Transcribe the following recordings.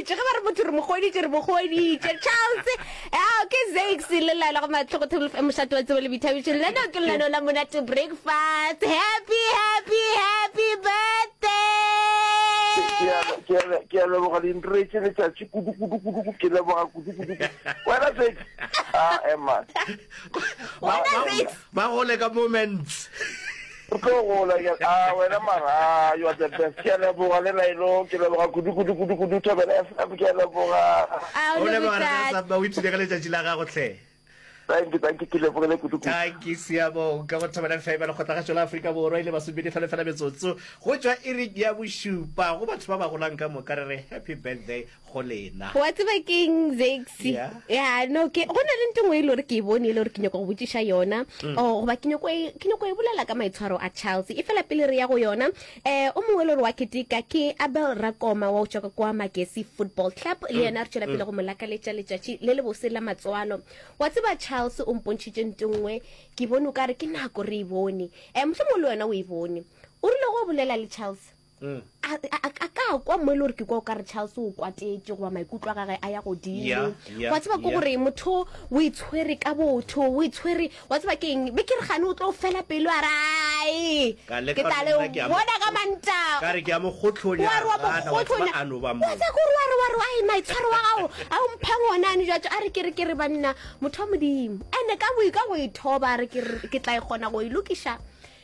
kgweditše ge ba re motho re mo kgweditše re mo kgweditše charles ao ke zax le laela go matlhogo table fm mošate wa tsebo le boithabišo lenaneo ke lenaneo la monate breakfast happy happy happy birthday Ke a- ke a leboga le ntiretše letšatši kudu kudu kudu kudu ke leboga kudu kudu kudu. Wena Zax ah ema wena zax Ba gole ka moments. Re tlo gola ke a wena mara ah, you are the best. Ke a leboga le Lailo, ke leboga kudu kudu kudu kudu Thobela FM ke a leboga. A O o leboga rena leboga Samba, o ipshine ka letšatši la gago hle. Thank you, thank you, ke lebogile kudu kudu. Thank you Siyabonga go Thobela FM ya Lekgotlagašo la Afrika Borwa ile masomepedi hlano fela metsotso go tšwa iring ya bošupa go batho ba ba golang ka moka re re happy birthday go lena. Wa tseba keng Zexy? Yeah. Ya no ke go na le nto nngwe e le gore ke e bone e le gore ke nyaka go botšiša yona mm. o goba ke nyako e, ke nyako e bolela ka maitshwaro a Charles e fela pele re ya go yona eh o mongwe e le gore wa keteka ke Abel Rakoma wa o tšwa ka kwa Magesi Football Club le mm. yena re tšwela pele mm. go mo lakaletša letšatši le le bose la matswalo wa tseba Charles o mpontšhitše nto nngwe ke bone o ka re ke nako re e bone eh mohlomongwe le wena o e bone o rile go bolela le Charles Mm. A, a, a ka kwa mo e le gore ke kwa o ka re Charles o kwatetše goba maikutlo a gage a ya godimo. Yeah, yeah, Wa tseba ke yeah. gore motho o itshwere ka botho, o itshwere, wa tseba ke eng? Be ke re gane o tlo fela pelo a re ai. Ka leka Ke tla gore le nna ke a mo- bona ka Mantaga. Ka re ke a mo kgohlonya, Wa re wa mo gana, wa tseba kgohlonya. a no ba mo. Wa tseba ke gore wa re wa re ai maitshwaro wa gago a o mphang ona ane jwatso a re ke re ke re banna motho wa Modimo. Ene ka boi ka go ithoba a re ke re ke tla e kgona go e lokiša.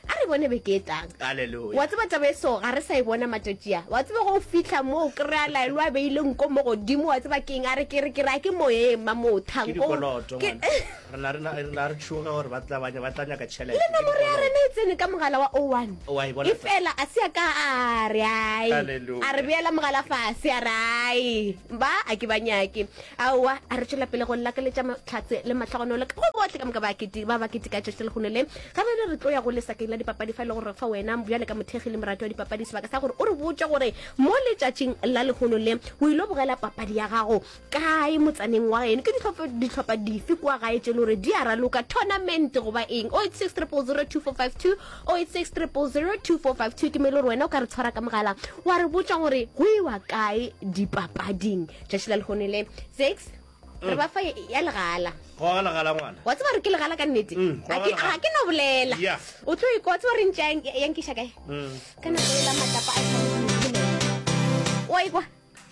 A re bone beke e tlang. Hallelujah. Wa tseba taba e so ga re sa e bona matšatši a. Wa tseba go fihla mo o kry-a Laelo a beile nko mo godimo wa tseba keng a re ke re ke re a ke moyeng ma mo Ke thanko. dikoloto Ke ngwana. Re na re na re na re tšhoga gore ba tla ba ba tla nyaka tšhelete. le Ke nomoro ya dikoloto. rena e tsene ka mogala wa 01. Wa e bona E fela a se a ka a re ai. Hallelujah. A re beela mogala fase a re ai. Ba a ke ba nyake. Aowa a re tšwela pele go lakaletša mahlatse le mahlogonolo ka go bohle ka moka ba kete ba ba keteka tšatši la lehono le. Ga bjale re tlo ya go lesakeng la dipapadi fa e le gore re fa wena bjale ka mothekgi le morati wa dipapadi sebaka sa gore o re botše gore mo letšatšing la lehono le o ilo bogela papadi ya gago kae motsaneng wa geno, ke dihlopha dife kua gae tše e le gore di a raloka tournament goba eng. 086 000 2452, 086 000 2452 ke mo e le gore wena o ka re tshwara ka mogala wa re botša gore go iwa kae dipapading tšatši la lehono le. Six. Re ba fa ya legala. Goga legala ngwana. Wa tseba gore ke legala ka nnete? Mm, Ga ke goga legala. ga ke no bolela. Yeah. O tlo ikwa, wa tseba gore ntša ya nkiša kae? Mm. Ka nako e la matlapa a sa Wa ikwa?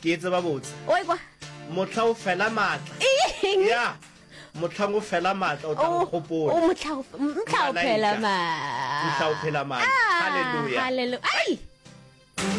Ke e tseba botse. Wa ikwa? Mohla o fela maatla. Eng? Yeah. Mohlang o fela maatla o tla O nkgopola. o mohla o mohla o Malaika. phela maatla. Mohla o phela maatla. Ah, Hallelujah. Hallelujah. Ai!